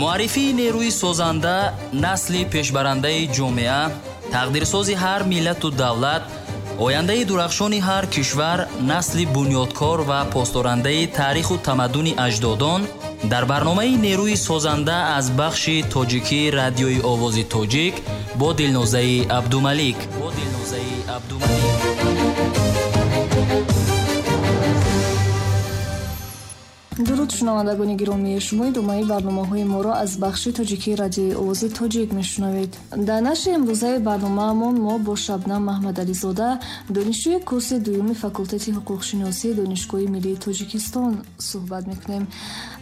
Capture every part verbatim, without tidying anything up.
Муаррифии нерӯи созанда, насли пешбарандаи ҷомеа, тақдирсози ҳар миллату давлат, ояндаи дурахшони ҳар кишвар, насли бунёдкор ва посдорандаи таъриху тамаддуни аҷдодон дар барномаи нерӯи созанда аз бахши тоҷикии радиои овози тоҷик бо Дилнозаи Абдумалик. Бо Дилнозаи Абдумалик. Дуруд, шунавандагони гиромӣ, шумо идомаи барномаҳои моро аз бахши тоҷикии радиои овози тоҷик мешунавед. Дар нашри имрӯзаи барномаамон мо бо Шабнам Маҳмадализода, донишҷӯи курси дуюми факултети ҳуқуқшиносии Донишгоҳи миллии Тоҷикистон суҳбат мекунем.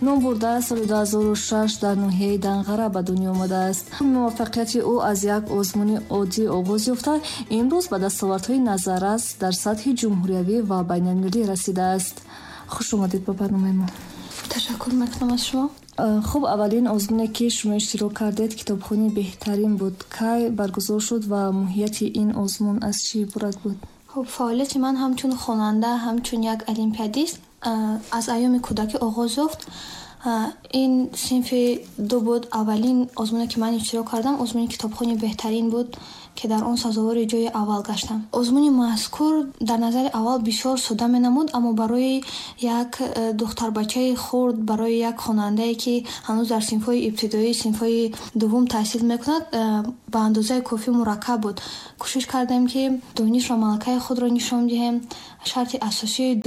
Номбурда соли ду ҳазору шаш дар ноҳияи Данғара ба дунё омадааст. Муваффақияти ӯ аз як озмуни оддӣ оғоз ёфта, имрӯз ба дастовардҳои назаррас дар сатҳи ҷумҳуриявӣ ва байналмилалӣ расидааст. Хуш омадед ба барномаи мо. Ташаккур мекунам аз шумо. Хуб, аввалин озмуне ки шумо иштирок кардед китобхони беҳтарин буд. Кай баргузор шуд ва моҳияти ин озмун аз чӣ иборат буд? Хуб, фаъолияти ман ҳамчун хонанда, ҳамчун як олимпиадист аз айёми кӯдакӣ оғоз ёфт. Ин синфи ду буд. Аввалин озмуне ки ман иштирок кардам озмуни китобхони беҳтарин буд, ки дар он сазовори ҷои аввал гаштам. Озмуни мазкур дар назари аввал бисёр содда менамуд, аммо барои як духтарбачаи хурд, барои як хонандае ки ҳанӯз дар синфҳои ибтидоӣ, синфҳои дуввум таҳсил мекунад, ба андозаи кофӣ мураккаб буд. Кӯшиш кардем, ки дониш ва малакаи худро нишон диҳем. Шарти асосии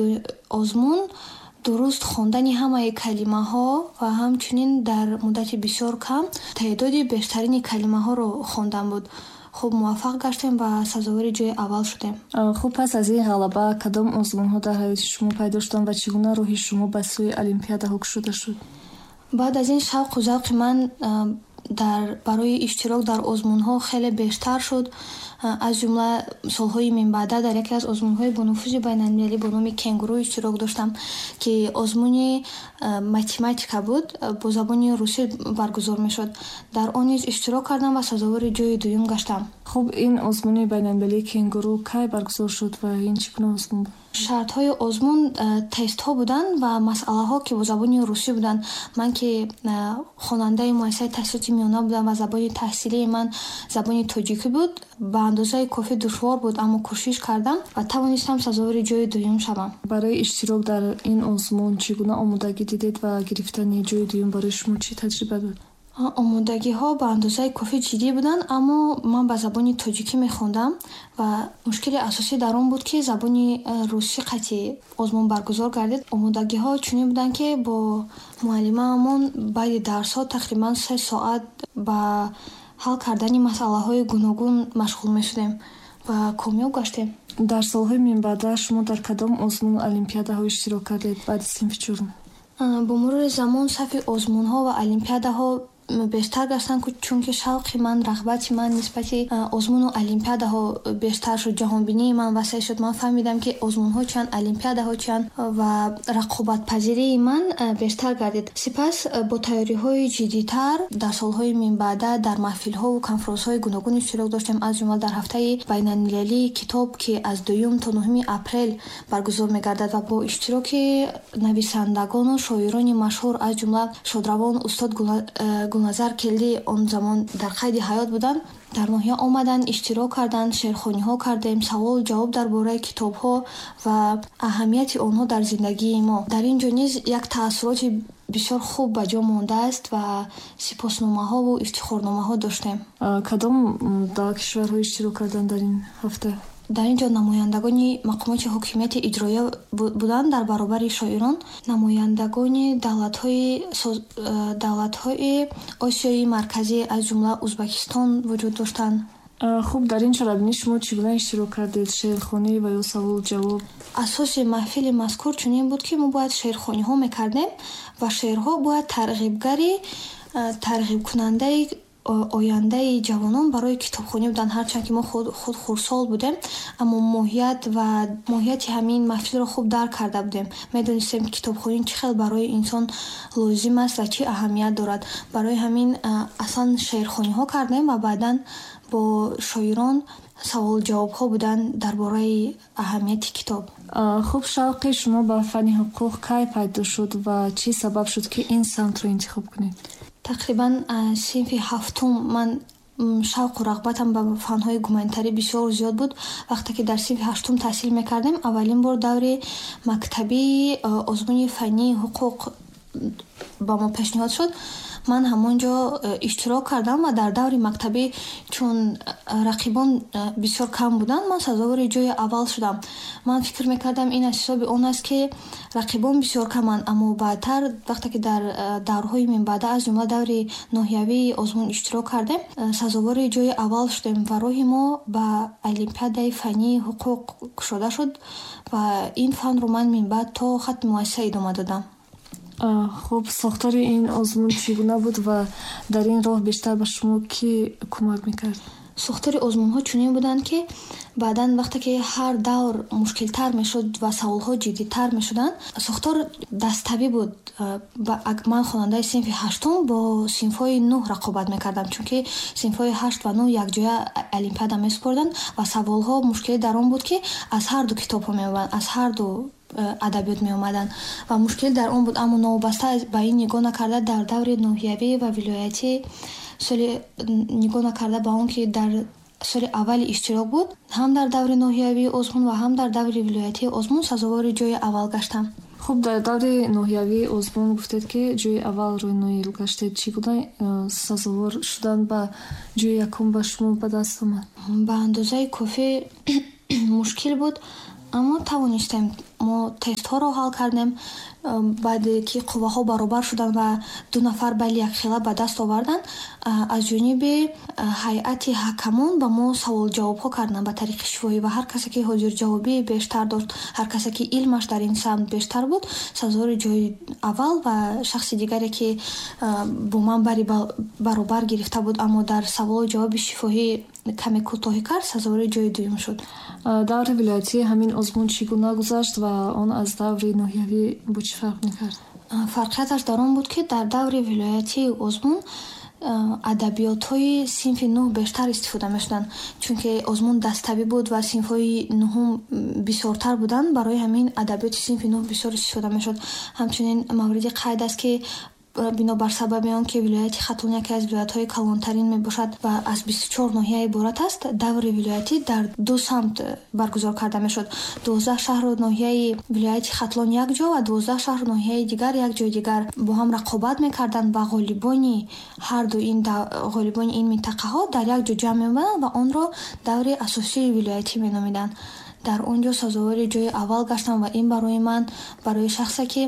озмун дуруст хондани ҳамаи калимаҳо ва ҳамчунин дар муддати бисёр кам теъдоди бештарини калимаҳоро хондан буд. Хуб, муваффақ гаштем ва сазовори ҷои аввал шудем. Хуб, пас аз ин ғалаба кадом озмунҳо дар ҳаёти шумо пайдо шуданд ва чӣ гуна роҳи шумо ба сӯи олимпиадаҳо кушода шуд? Баъд аз ин шавқу завқи ман дар барои иштирок дар озмунҳо хеле бештар шуд. Аз ҷумла солҳои минбаъда дар яке аз озмунҳои бонуфузи байналмилалӣ бо номи Кенгуру иштирок доштам, ки озмуни математика буд, бо забони русӣ баргузор мешуд. Дар он низ иштирок кардам ва сазовори ҷои дуюм гаштам. Хуб, ин озмуни байналмилалии Кенгуру кай баргузор шуд ва ин чӣ гуна озмун буд? Шартҳои озмун тестҳо буданд ва масъалаҳо, ки бо забони русӣ буданд. Ман ки хонандаи муассисаи таҳсилоти миёна будам ва забони таҳсилии ман забони тоҷикӣ буд, ба андозаи кофӣ душвор буд, аммо кӯшиш кардам ва тавонистам сазовори ҷои дуюм шавам. Барои иштирок дар ин озмун чӣ гуна омодагӣ дидед ва гирифтани ҷои дуюм барои шумо чӣ таҷриба буд? Омодагиҳо ба андозаи кофӣ ҷиддӣ буданд, аммо ман ба забони тоҷикӣ мехондам ва мушкили асосӣ дар он буд, ки забони русӣ қатъи озмун баргузор гардид. Омодагиҳо чунин буданд, ки бо муаллимаамон баъди дарсҳо тақрибан се соат ба ҳал кардани масъалаҳои гуногун машғул мешудем ва комёб гаштем. Дар солҳои минбаъда шумо дар кадом озмуну олимпиадаҳо иштирок кардед баъди синфи чорум? Бо мурури замон сафи озмунҳо ва олимпиадаҳо бештар гаштанд, чунки шавқи ман, рағбати ман нисбати озмуну олимпиадаҳо бештар шуд, ҷаҳонбинии ман васеъ шуд. Ман фаҳмидам, ки озмунҳо чианд, олимпиадаҳо чианд ва рақобатпазирии ман бештар гардид. Сипас бо тайёриҳои ҷиддитар дар солҳои минбаъда дар маҳфилҳову конференсҳои гуногун иштирок доштем, аз ҷумла дар ҳафтаи байналмилалии китоб, ки аз дуюм то нуҳуми апрел баргузор мегардад ва бо иштироки нависандагону шоирони машҳур, аз ҷумла шодравон устод Гулназар Келдӣ он замон дар қайди ҳаёт буданд, дар ноҳия омаданд, иштирок карданд, шеърхониҳо кардем, саволу ҷавоб дар бораи китобҳо ва аҳамияти онҳо дар зиндагии мо. Дар ин ҷо низ як таассуроти бисёр хуб ба ҷо мондааст ва сипосномаҳову ифтихорномаҳо доштем. Кадом дар кишварҳо иштирок карданд дар ин ҳафта? Дар ин ҷо намояндагони мақомоти ҳокимияти иҷроия буданд дар баробари шоирон, намояндагони давлатҳои Осиёи Марказӣ, аз ҷумла Узбекистон вуҷуд доштанд. Хуб, дар ин чорабинӣ шумо чӣ гуна иштирок кардед? Шеърхонӣ ва ё саволу ҷавоб? Асоси маҳфили мазкур чунин буд, ки мо бояд шеърхониҳо мекардем ва шеърҳо бояд тарғибгари, тарғибкунандаи ояндаи ҷавонон барои китобхонӣ буданд. Ҳарчанд ки мо худ, худ хурдсол будем, аммо моҳият ва моҳияти ҳамин маҳфилро хуб дарк карда будем. Медонистем, ки китобхонӣ чӣ хел барои инсон лозим аст ва чӣ аҳамият дорад. Барои ҳамин аслан шеърхониҳо кардем ва баъдан бо шоирон савол-ҷавобҳо буданд дар бораи аҳамияти китоб. Хуб, шавқи шумо ба фанни ҳуқуқ кай пайдо шуд ва чӣ сабаб шуд, ки ин самтро интихоб кунед? Тақрибан синфи ҳафтум ман шавқу рағбатам ба фанҳои гуманитарӣ бисёр зиёд буд. Вақте ки дар синфи ҳаштум таҳсил мекардем, аввалин бор даври мактабии озмуни фаннии ҳуқуқ ба мо пешниҳод шуд. Ман ҳамон ҷо иштирок кардам ва дар даври мактабӣ, чун рақибон бисёр кам буданд, ман сазовори ҷои аввал шудам. Ман фикр мекардам, ин аз ҳисоби он аст, ки рақибон бисёр каманд, аммо баъдтар, вақте ки дар даврҳои минбаъда, аз ҷумла даври ноҳиявии озмун иштирок кардем, сазовори ҷои аввал шудем ва роҳи мо ба олимпиадаи фаннии ҳуқуқ кушода шуд ва ин фанро ман минбаъд то хатми муассиса идома додам. Хуб, сохтори ин озмун чӣ гуна буд ва дар ин роҳ бештар ба шумо кӣ кӯмак мекард? Сохтори озмунҳо чунин буданд, ки баъдан, вақте ки ҳар давр мушкилтар мешуд ва саволҳо ҷиддитар мешуданд, сохтор даставӣ буд. Ман хонандаи синфи ҳаштум бо синфҳои нӯҳ рақобат мекардам, чунки синфҳои ҳашт ва нӯҳ якҷоя олимпиада месупорданд ва саволҳо мушкилӣ дар он буд, ки аз ҳар ду китобҳо меомаданд, аз ҳар ду адабиёт меомаданд ва мушкил дар он буд. Аммо новобаста ба ин нигоҳ накарда, дар даври ноҳиявӣ ва вилоятӣ соли нигоҳ накарда ба он ки дар соли аввали иштирок буд, ҳам дар даври ноҳиявии озмун ва ҳам дар даври вилоятии озмун сазовори ҷои аввал гаштам. Хуб, дар даври ноҳиявии озмун гуфтед, ки ҷои аввалро ноил гаштед. Чӣ гуна сазовор шудан ба ҷои якум ба шумо ба даст омад? Ба андозаи кофӣ мушкил буд, аммо тавонистем. Мо тестҳоро ҳал кардем. Баъде ки қувваҳо баробар шуданд ва ду нафар балли якхела ба даст оварданд, аз ҷониби ҳайати ҳакамон ба мо саволҷавобҳо карданд ба тариқи шифоҳӣ ва ҳар касе ки ҳозирҷавобии бештар дошт, ҳар касе ки илмаш дар ин самт бештар буд, сазовори ҷои аввал ва шахси дигаре ки бо ман бари баробар гирифта буд, аммо дар саволу ҷавоби шифоҳӣ каме кӯтоҳӣ кард, сазовори ҷои дуюм шуд. Даври вилоятии ҳамин озмун чӣ гуна гузашт ва он аз даври ноҳиявӣ бо чӣ фарқ мекард? Фарқияташ дар он буд, ки дар даври вилоятии озмун адабиётҳои синфи нӯҳ бештар истифода мешуданд, чунки озмун даставӣ буд ва синфҳои нӯҳум бисёртар буданд. Барои ҳамин адабиёти синфи нӯҳ бисёр истифода мешуд. Ҳамчунин мавриди қайд аст, ки бинобар сабаби он ки вилояти Хатлон яке аз вилоятҳои калонтарин мебошад ва аз бисту чор ноҳия иборат аст, даври вилоятӣ дар ду самт баргузор карда мешуд. Дувоздаҳ шаҳру ноҳияи вилояти Хатлон як ҷо ва дувоздаҳ шаҳру ноҳияи дигар як ҷои дигар бо ҳам рақобат мекарданд ва ғолибони ҳар ду ин ғолибони ин минтақаҳо дар як ҷо ҷамъ меомаданд ва онро даври асосии вилоятӣ меномиданд. Дар он ҷо сазовори ҷои аввал гаштам ва ин барои ман, барои шахсе ки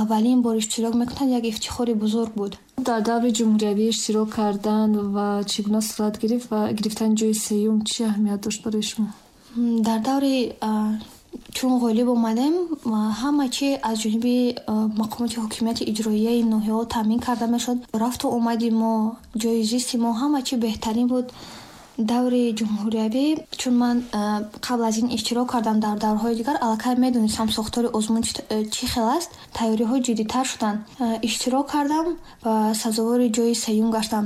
аввалин бор иштирок мекунад, як ифтихори бузург буд. Дар даври ҷумҳуриявӣ иштирок кардан ва чӣ гуна сурат гирифт ва гирифтани ҷои сеюм чӣ аҳамият дошт барои шумо? Дар даври чун ғолиб омадем, ҳама чи аз ҷониби мақомоти ҳокимияти иҷроияи ноҳияҳо таъмин карда мешуд. Рафту омади мо, ҷои зисти мо, ҳама чи беҳтарин буд. Даври ҷумҳуриявӣ, чун ман қабл аз ин иштирок кардам дар даврҳои дигар, аллакай медонистам сохтори озмун чӣ хел аст, тайёриҳо ҷиддитар шуданд. Иштирок кардам ва сазовори ҷои сеюм гаштам.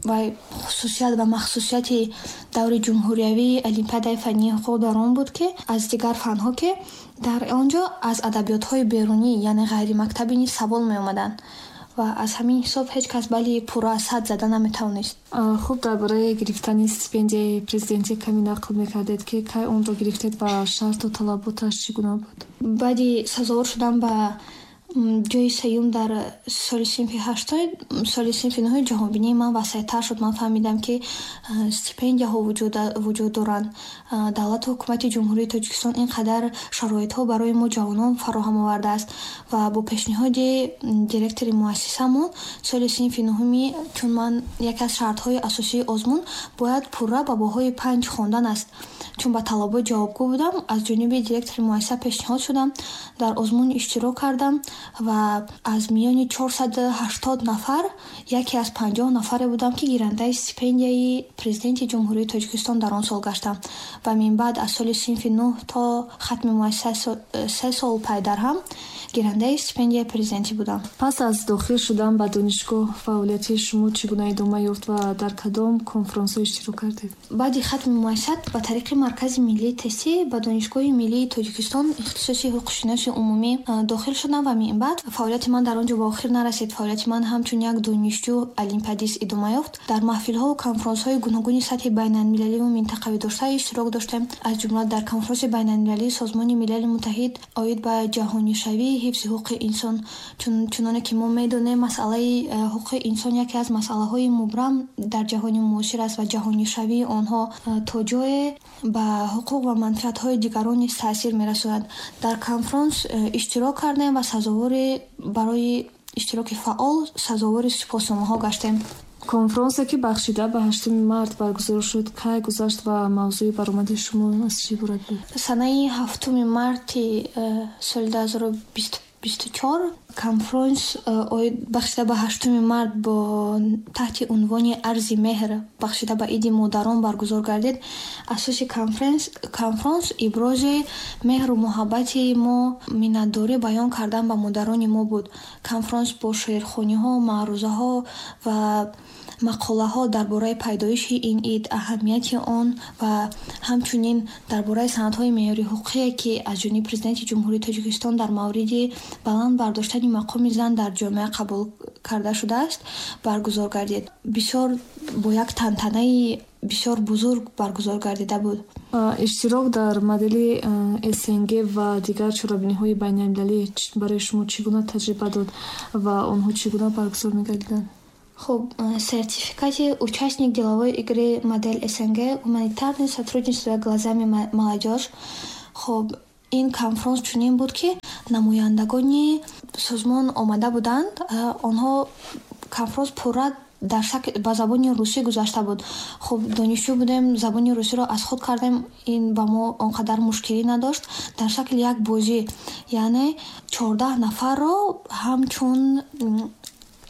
Ва хусусият ва махсусияти даври ҷумҳуриявии олимпиадаи фаннии ҳуқуқ дар он буд, ки аз дигар фанҳо, ки дар он ҷо аз адабиётҳои берунӣ, яъне ғайримактабӣ низ савол меомаданд ва аз ҳамин ҳисоб ҳеҷ кас балли пурра аз сад зада наметавонист. Хуб, дар бораи гирифтани стипендияи президентӣ каме нақл мекардед, ки кай онро гирифтед ва шарту талаботаш чӣ гуна буд? Баъди сазовор шудан ба ҷои сеюм дар соли синфи ҳаштум, соли синфи нӯҳум ҷаҳонбинии ман васеътар шуд. Ман фаҳмидам, ки стипендияҳо вуҷуд доранд. Давлату ҳукумати Ҷумҳурии Тоҷикистон ин қадар шароитҳо барои мо ҷавонон фароҳам овардааст ва бо пешниҳоди директори муассисамон соли синфи нӯҳуми, чун ман яке аз шартҳои асосии озмун бояд пурра ба баҳои панҷ хондан аст, чун ба талабот ҷавобгӯ будам, аз ҷониби директори муассиса пешниҳод шудам, дар озмун иштирок кардам ва аз миёни чорсаду ҳаштод нафар яке аз панҷоҳ нафаре будам, ки гирандаи стипендияи президенти Ҷумҳурии Тоҷикистон дар он сол гаштам ва минбаъд аз соли синфи нӯҳ то хатми муассиса се сол пайдарҳам Гирандаи стипендияи президентӣ будам. Пас аз дохил шудан ба донишгоҳ фаъолияти шумо чӣ гуна идома ёфт ва дар кадом конфронсҳо иштирок кардед? Баъди хатми муассисат ба тариқи Маркази миллии тестӣ ба Донишгоҳи миллии Тоҷикистон ихтисоси ҳуқуқшиноси умумӣ дохил шудам ва минбаъд фаъолияти ман дар он ҷо ба охир нарасид. Фаъолияти ман ҳамчун як донишҷӯ олимпиадист идома ёфт. Дар маҳфилҳову конфронсҳои гуногуни сатҳи байналмилаливу минтақавӣ дошта иштирок доштем. Аз ҷумла дар конфронси байналмилалии Созмони Милали Муттаҳид оид ба ҷаҳонишавии ҳифзи ҳуқуқи инсон. Чуноне ки мо медонем, масъалаи ҳуқуқи инсон яке аз масъалаҳои мубрам дар ҷаҳони муосир аст ва ҷаҳонишавии онҳо то ҷое ба ҳуқуқ ва манфиатҳои дигарон низ таъсир мерасонад. Дар конфронс иштирок кардем ва сазовори барои иштироки фаъол сазовори сипосномаҳо гаштем. Конфронсе ки бахшида ба ҳаштуми март баргузор шуд, кай гузашт ва мавзӯи баромади шумо аз чӣ иборат буд? Санаи ҳафтуми марти соли дуҳазору бисту чор конфронс оид бахшида ба ҳаштуми март бо таҳти унвони Арзи меҳр бахшида ба Иди модарон баргузор гардид. Асоси конфронс ибрози меҳру муҳаббати мо, миннатдорӣ баён кардан ба модарони мо буд. Конфронс бо шеърхониҳо, маърузаҳо ва мақолаҳо дар бораи пайдоиши ин ид, аҳамияти он ва ҳамчунин дар бораи санадҳои меъёри ҳуқуқие, ки аз ҷониби Президенти Ҷумҳурии Тоҷикистон дар мавриди баланд бардоштани мақоми зан дар ҷомеа қабул карда шудааст, баргузор гардид. Бисёр бо як тантанаи бисёр бузург баргузор гардида буд. Иштирок дар модели С Н Г ва дигар чорабиниҳои байналмилалӣ барои шумо чӣ гуна таҷриба дод ва онҳо чӣ гуна баргузор мегардиданд? Хуб, сертификати участник деловой игры модель С Н Г гуманитарное сотрудничество глазами молодежь. Хуб, ин конфронс чунин буд, ки намояндагони созмон омада буданд. Онҳо конфронс пурра дар шакл ба забони русӣ гузашта буд. Хуб, донишҷӯ будем, забони русиро аз худ кардем, ин ба мо он қадар мушкилӣ надошт. Дар шакли як бозӣ, яъне чордаҳ нафарро ҳамчун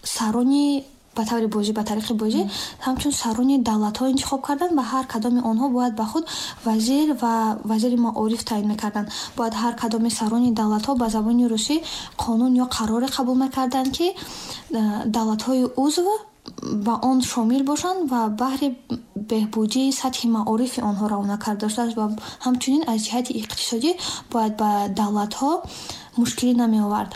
сарони ба таври бозӣ, ба тариқи бозӣ ҳамчун сарони давлатҳо интихоб карданд ва ҳар кадоми онҳо бояд ба худ вазир ва вазири маориф таъин мекарданд. Бояд ҳар кадоми сарони давлатҳо ба забони русӣ қонун ё қароре қабул мекарданд, ки э, давлатҳои узв ба он шомил бошанд ва баҳри беҳбудии сатҳи маорифи онҳо равона карда шудааст ва ҳамчунин аз ҷиҳати иқтисодӣ бояд ба давлатҳо мушкилӣ намеовард.